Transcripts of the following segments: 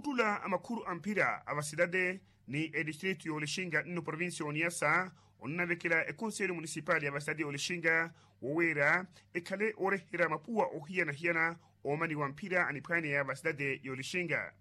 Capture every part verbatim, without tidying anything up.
Ottula a makhuru a mphira a vasidade ni etistritu y'olixinga nno provincia y'oniyasa, onnavekela ekonselho municipal ya vasidade y'olixinga, wowiira ekhale ooreherya mapuwa ohiyana-hiyana oomaniwa mphira aniphwaaneya vasidade y'olixinga.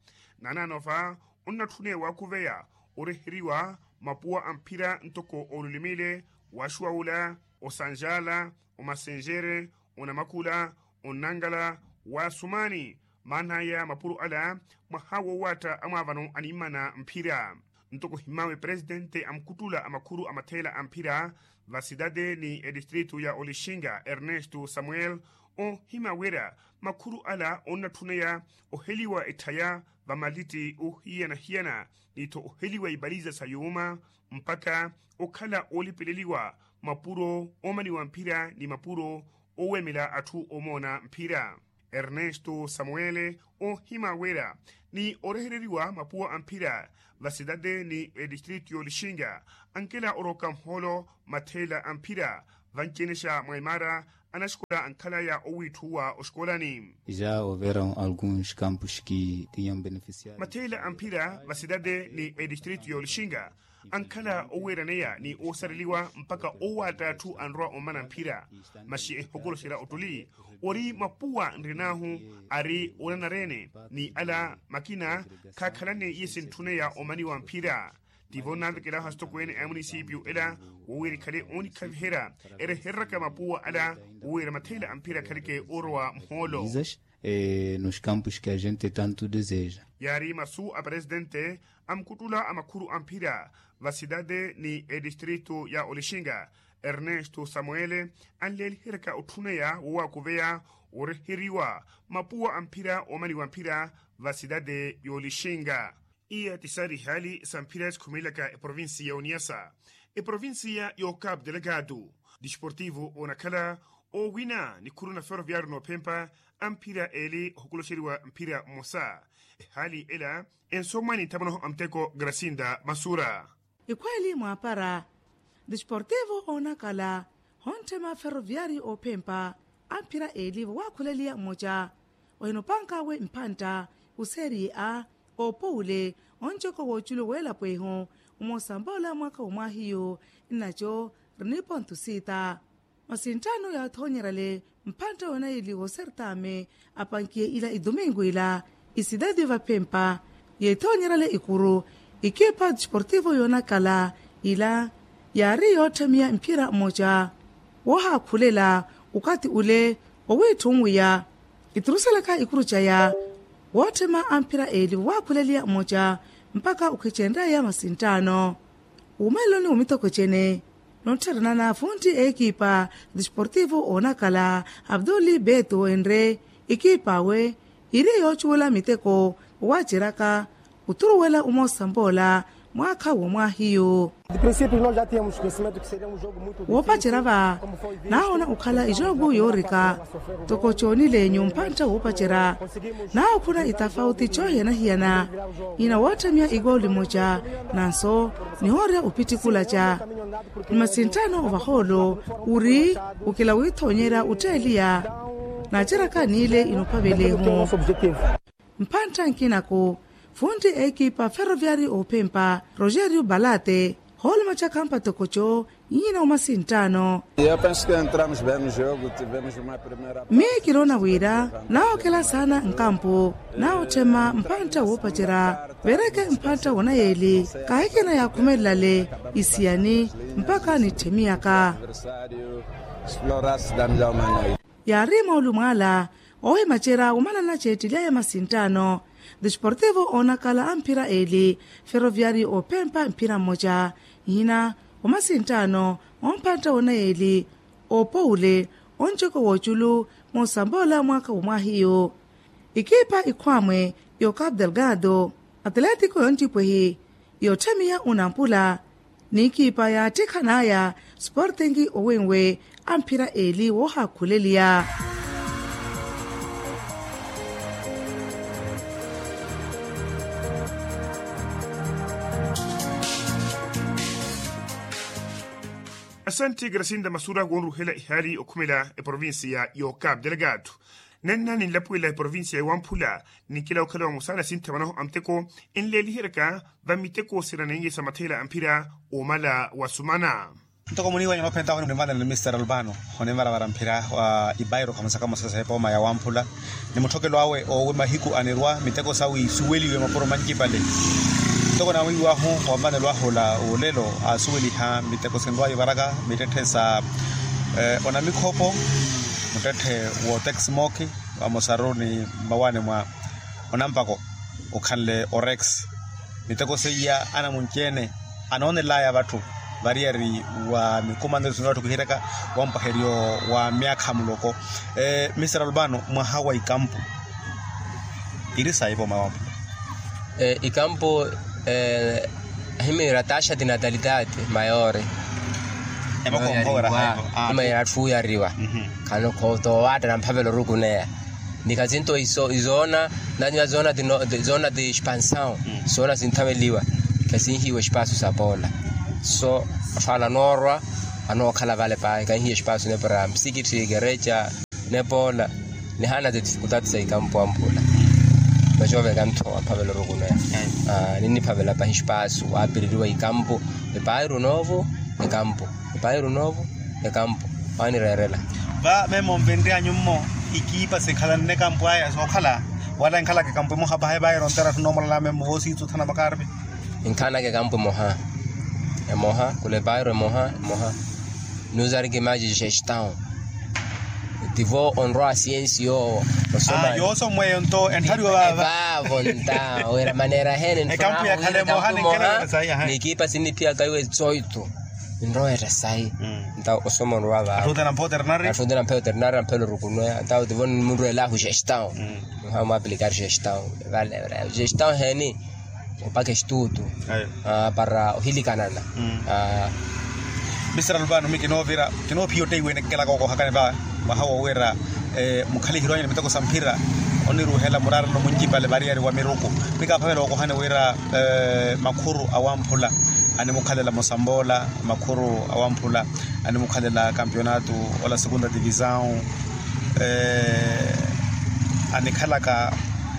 Naanaano va onnatthune waakuveya oreheriwa mapuwa a mphira ntoko oolulimiile, waxuwa ula, osanjala, omasenjere, onamakula, onnankala, waasumani. Maan'aya mapuro ala mwaha wowaatta amwaavano animmana mphira. Ntoko himmaawe presitente a mukuttula a makhuru a matheela a mphira vasidade ni etistritu ya olixinga ernesto samuel, ohima wira makhuru ala onnatthuneya oheliwa etthaya vamalitti ohiyana-hiyana, ni-tho oheliwa ipaliza sa yuuma mpakha okhala oolipeleliwa mapuro oomaniwa mphira ni mapuro oweemela atthu omoona mphira. Ernesto samuele, ohima wira ni orehereriwa mapuwa a mphira vasidade ni etistritu y'olixinga, ankela orooka muhoolo matheela a mphira vanci-ene xa mwa imaara anaxikola ankhalaya owiitthuwa oxikolani. Ya overam alguns campus ki tinham beneficiado. Matheela a mphira vasidade ni etistritu y'olixinga ankhala oweeraneya ni oosareliwa mpakha owaatta atthu anrowa ommana mphira. Maxi enhokoloxerya ottuli ori mapuwa nrin'ahu ari onanarene ni ala makina khaakhalane iye sintthuneya omaniwa mphira. Tivo nnaavekel'ahu asitokweene a munisipio ela wowiira ekhale oonikhaviherya erehereryaka mapuwa ala wowiira matheela a mphira akhaleke oorowa muhoolo. Nos campos ke a gente tanto deseja. Yaari masu a presitente a mukuttula a makhuru a mphira vasidade ni etistritu ya olixinga ernesto samuele, anleeliheryaka otthuneya wowaakuveya oreheriwa mapuwa a mphira oomaniwa mphira vasidade y'olixinga. Iya ti saari ihaali sa mphira sikhumelelaka eprovincia y'oniyasa, eprovincia y'ocapu delegado. Disportivo onakhala owina nikhuru na ferroviario noophempa a mphira eeli ohukuluxeriwa mphira mmosa. Ehaali ela ensomwani nthamanoho a muteko gracinda masura. Ikhweeli mwaapara disportivo onakhala hontthema ferroviario oophempa a mphira eeli vowaakhuleliya mmoca ohinopank'awe mphantta, oserie a oopowule onjoko wooculu weelapweeho. Omoosambola mwaakha womwaahiyu nnaco rinipontu siita. Masinttano yaathoonyerale mphantta yoonaili woosertame apankiye ila idumingu ila isidadi vaphempa yeethoonyerale ikuru ikipa disportivo yoonakala ila yaari yootthemiya mphira mmoca woohaakhulela okathi ule owiitthunwiya ituruselaka ikuru caya wootthema a mphira eeli vowaakhuleliya mmoca mpakha okhicenreya masinttaano. Wuumeleloni wa mitokocene nottherana na afuntti eekipa disportivo oonakala abduli beto enre ekipa awe iri yoocuwela miteko wowaaceryaka oturuwela omoosambola mwaakha womwaahiyu. Woopacerya va naahona okhala ijoogu yoorika toko coonilenyu mphantta woopacerya naakhuna itafauti coohiyana-hiyana ina wootthemiya ikooli mmoca nanso nihoorya opittikulaca ni masinttano ovahoolo uri okila wiithoonyerya otteeliya naaceryaka niile inoophaveleeho. Mphantta nkinaku funtti eekipa ferroviario oophempa rogerio balate hoolumaca khampa tokoco nyina omasinttaano. Mii kiroona wira naawokela saana nkampu naawotthema mphantta woopacerya veereke mphantta woonayeeli kaahikina yaakhumelelale isiyani mpakha nitthemiyaka. Yaari moolumo ala oohimacerya womanana ceettely'aya masinttaano disportivo oonakala a mphira eeli ferroviario oophempa mphira mmoca nhina omasinttaano omphantta woonayeeli oopowule onjoko wooculu moosamboola mwaakha womwaahiyu. Ikipa ikhwaamwe y'ocapu delgado atletiko yoontipwehi yootthemiya onampula n'ikipa yaattikhan'aya sportingi owenwe a mphira eeli woohaakhuleliya. Asanthi grasinda masura woonruhela ihaali okhumela eprovincia y'ocapu delegado. Nenna ninlapuwela eprovincia ya wamphula, ninkela okhala vamosa na sintha vanaho a muteko, enleeliheryaka va miteko siraneiye sa matheela a mphira, omala wasumana. Ntoko muniiwanya nophentaho nimvanela ni mister albano, onimvaravara mphira wa ibairo khamusaka mosesa epooma ya wamphula, ni mutthokelo awe owe mahiku anirwa miteko sawe isuweliwe mapuro mancipale. Ntoko nawiiwahu wamvanelo ahu ola olelo, asuweliha miteko sinrwaye varaka mittetthe sa onamikhopo, muttetthe wo texmoki, vamosaru ni mmawaani mwa onampako, okhanle orex. Miteko seiya anamunci-ene anoonelaya vatthu variyari wa mikumanelo sinowatthu kihiryaka, wampaheryo wa myaakha muloko. Mister albano, mwaha wa ikampu iri sayi pooma wamphula? Ikampu ahimira taxa ti natalitaati mayori. Emakompowera haivo. Imayira atthu yariwa. Khano khooto waatta na mphavela orukuneya. Ni khasinto izoona, nanyu azoona ti expansaw, zoona sinthameliwa. Khasinhiiwa espasu sa poola. So atthu ala anoorwa, anookhala vale pahi khanhiiwa espasu nepo ra msikitthi kereca, nepoola. Nihaana ti difikultati sa ikampu amphula. Vaxooveka ntho amphavela orukuneya. Ninniphavela pahi espasu waapireriwa ikampu. Epairu noovo, ekampu. Epairu noovo, ekampu. Waanireerela. Va memo nvinryanyu mmo ikiipa sikhalanne ekampu aya sookhala, wala enkhalaka ekampu emoha paha epairu ontera atthu noomolala memo voosiitsuthana makarpi? Enkhanaka ekampu emoha. Emoha khula epairu emoha emoha. Nuzariki maji gestaw. Tivo onrowa asiensi yoowo. Osoma yooso mweyo nto entthariwa vava. Vavo nta wira manera hene ekampu yakhala emoha. Nikiipa sinniphiyaka iwe etsoito. Nrowa etta sayi. Nta osoma onrowa vava. Atthu ntena mpha oternaria. Atthu ntena mpha oternaria amphela orukuneya nta tivo munrowelahu gestaw. Muha mwaplikari gestaw. Gestaw heni. Opaka estutu. Para ohilikanana. Mister albano mi kinoovira kinoophiya otteiwe enekkelaka okohakani va mwaha wo wira mukhalihirwanyani miteko sa mphira. Oniruhela muraarelo muncipale variyari wa miruku. Mi kaaphavela okohani wira makhuru awamphula animukhalela mosamboola, makhuru awamphula animukhalela kampionatu ola segunda divisaw. Anikhalaka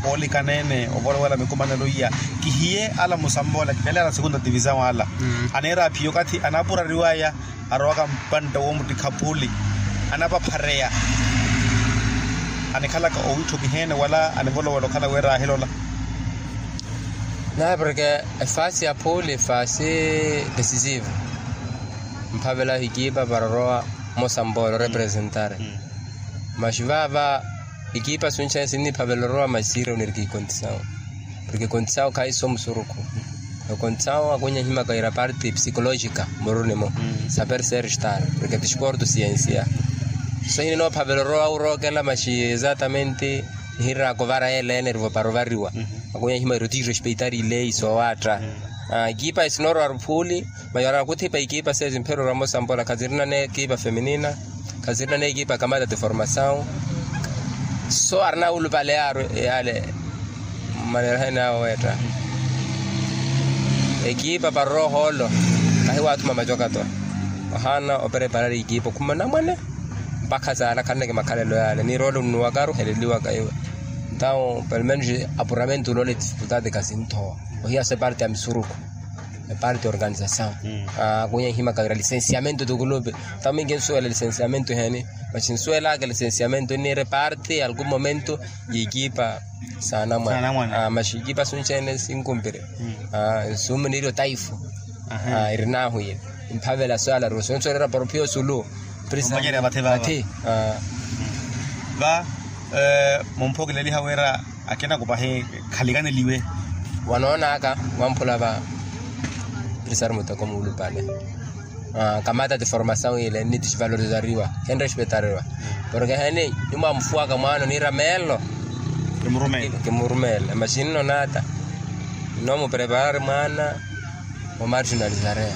oolikaneene ovolowela mikumanelo iya. Kihiye ala musamboola kihele ala segunda divisaw ala. Aneera aphiya okathi anaapurariwaya arowaka mpantta woomuttikha phuuli. Anapaphareya anikhalaka owiitthokiheene wala anivolowela okhala wira ahilola. Naye porke efaasi ya phuuli efaasi decisive. Mphavela ahu ekipa para orowa mmosa mbola orepresentare. Maxi vaava ekipa sunchene sinniphavela orowa maxi siira oniriki ekontisawu. Porke ekontisawu khayi so musurukhu. Ekontisawu akunya ehimaka ira parte psikolojika murunimo saper ser star porke ti sporto siensia. So hini noophavela orowa orookela maxi exatamente nihiraka ovara yeela ene erivo para ovariwa. Akunya ehima ira otirespeitar ilei soowaatta. Ekipa esinoorwa ruphuuli. Mayora khuthipa ekipa sesi mphero ramosa mpola khasirina n'ekipa feminina. Khasirina n'ekipa kamata ti formasawu. So arina awulupale yaaru eyale. Mmaneraheni awo weetta ekipa para orooha olo. Kahiwaathuma macokato ohaana opreparari ekipa okhuma namwane. Mpakha saala khaneke makhalelo yaale niroole onnuwaka aruheleliwaka iwe. Ntawo pelomenus apuramentu loole difikultati khasinthowa. Ohiya so eparte ya misuruku eparte ya organisasawu. Kunya ehimaka wira lisensiamento ti kulupe. Ntawo mingi ensuwela lisensiamento eheni maxi nsuwelaka lisensiamento eniira eparte ya algun momento ya ekipa saana mwana. Maxi ekipa sunchene sinkumpire. Nsumu niiri otaifu. Iri nahu yini. Mphavela so yalaruwa sonsuwelela para ophiya osulu. Prisa. Vathi. Va mumphokeleliha wira akina kupahi khalikaneliwe. Wanoonaka wamphula va prisari muteko muulupale. Kamata ti formasawu ile ni ti xivalorizariwa khenrespetariwa. Porke heni nimwamufuwaka mwaana oniira meelo. Kimurumela maxi ninonaata. Ninomupreparari mwaana. Omarginalizareya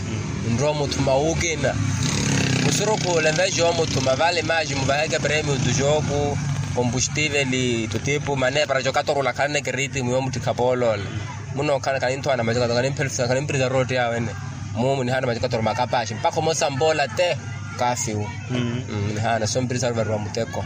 nrowa muthuma wukina. Musurukhu ole nveji omuthuma vale maji muvaheke premio tu joku. Kompuxtiveli tutipu mane para jokatorula khanne keriti muyo muttikha poolole. Muno khana khaninthowana majokato khanimphirisa rooti yawene. Mumu nihaana majokato makapaaxi mpakha omosa mpola te. Kafiwu. Nihaana so mpirisa ruvariwa muteko.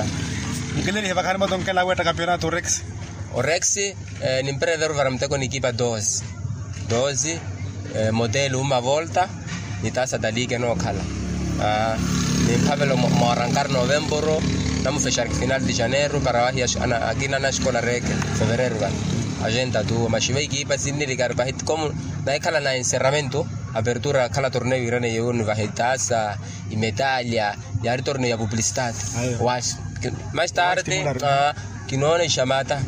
Nkileryihe vakhaani moto nkela aweetta kampionato orex. Orex, nimpereveru vara muteko n'ikipa doze. Doze. Moteli uma volta. Nitaasa taliki enookhala. Nimphavelo mwa orankari novempuru. Namufexari final de janeiro para wahi akina na escola reke. Fevereru vale. Ajenta tu maxiva ikipa sinnilikari pahiti komu. Nahikhala na enserramentu. Apertura khala torneo irene yeuni vahitaasa. Imetalya. Yaari torneo ya publicitati. Wasi. Mas tarde. Kinoona ixamata.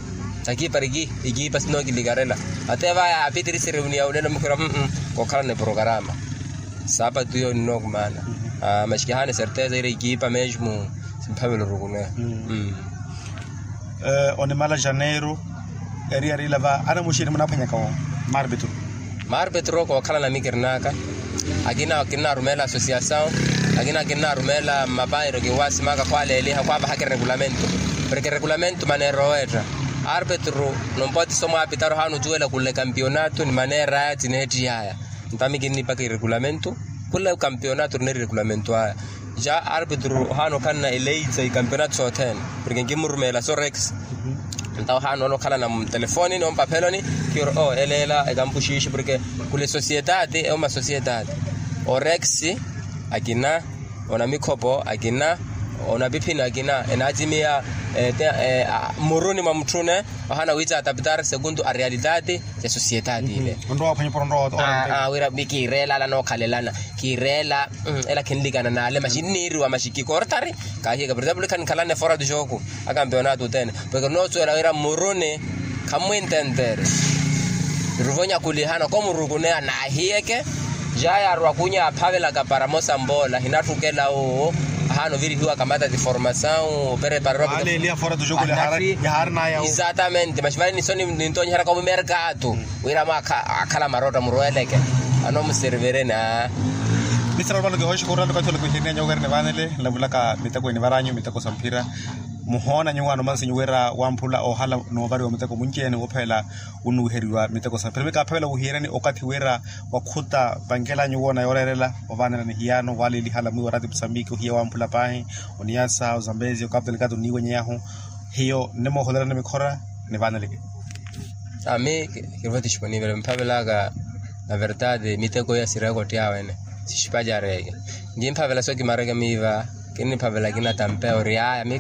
Sakiipa riki. Ikiipa sinookilikarela. Ate vaya apitiri siriuniya unene mukhira. Kokhalana eprokarama. Saapatu iyo ninookumaana. Mas kihaana eserteza ira ikiipa mesmu. Simphavela orukuneya. Onimala janeiro. Eriyari ila va anamuxini munaaphwanyaka. Maarbitru. Maarbitru kookhalana mikirinaka. Akina kinnaarumeela asosiasaw. Akina kinnaarumeela mmapairo kinwasimaka khwaaleeliha khwaavahaka erekulamento. Porke erekulamento maneera oweetta. Aarbitru nompotisa omwaapitaro haana ocuwela khula ekampionato ni maneera aya tineettiyaya. Nto ami kinnipaka erekulamento. Khula ekampionato rineera erekulamento aya. Ja aarbitru ohaana okhalana eleitsa ikampionato sothene. Porke nkimurumeela sorex. Nto ohaana ole okhalana mutelefonini ompapheloni. Kiiro o eleela ekampuxiixi porke khula esosietati euma sosietati. Orex akina. Onamikhopo akina. Onapiphini akina enaatimiya muruni mwa mutthune, ohana witsa atapitari segundo a realitaati ya sosiyetaati ile. Wira mi kiireela ala nookhalelana, kiireela ela khinlikana n'ale maxi nniiriwa maxi kikortari. Kaahiyeke por example khanikhalana efora tu xooku, akampeonatu othene. Porke noosuwela wira mmuruni khammwintentere. Ruvonyakulihana komurukuneya naahiyeke. Jaya arwa kunya aphavelaka para mosambola hinathukela uwo. Ahano virihiwa kamata ti formasaw opereparerwa. Exatamente maxi vale niso nintonyihera komumerkatu wira mwa akhala marotta murweleke. Anomuservereni a. Misera olupano kihoxi khurula lukathola kuhirina nyoko eri nivanele nlavulaka miteko enivaranyu miteko samphira. Muhoona nyuwo anomansi nyuwo era wamphula ohala noovariwa miteko munci-ene woophela. Wunnuwiheriwa miteko samphira mi kaaphavela wuhiyereni okathi wira wakhuta vankelanyu woona yooreerela. Ovaanela nihiyano waleelihala mwiiwa rati musambiki ohiya wamphula paahi. Oniyasa ozambezi okapu delikatu nniiwenyeyahu. Hiyo nnemoholerani mikhora nivaaneleke. Ami kiruvati xiponiivela mphavelaka na verdade miteko iya sirekotti awene. Sixipajareke njimphavela sokimareke miiva. Kinniphavela kinatampe ori aya mi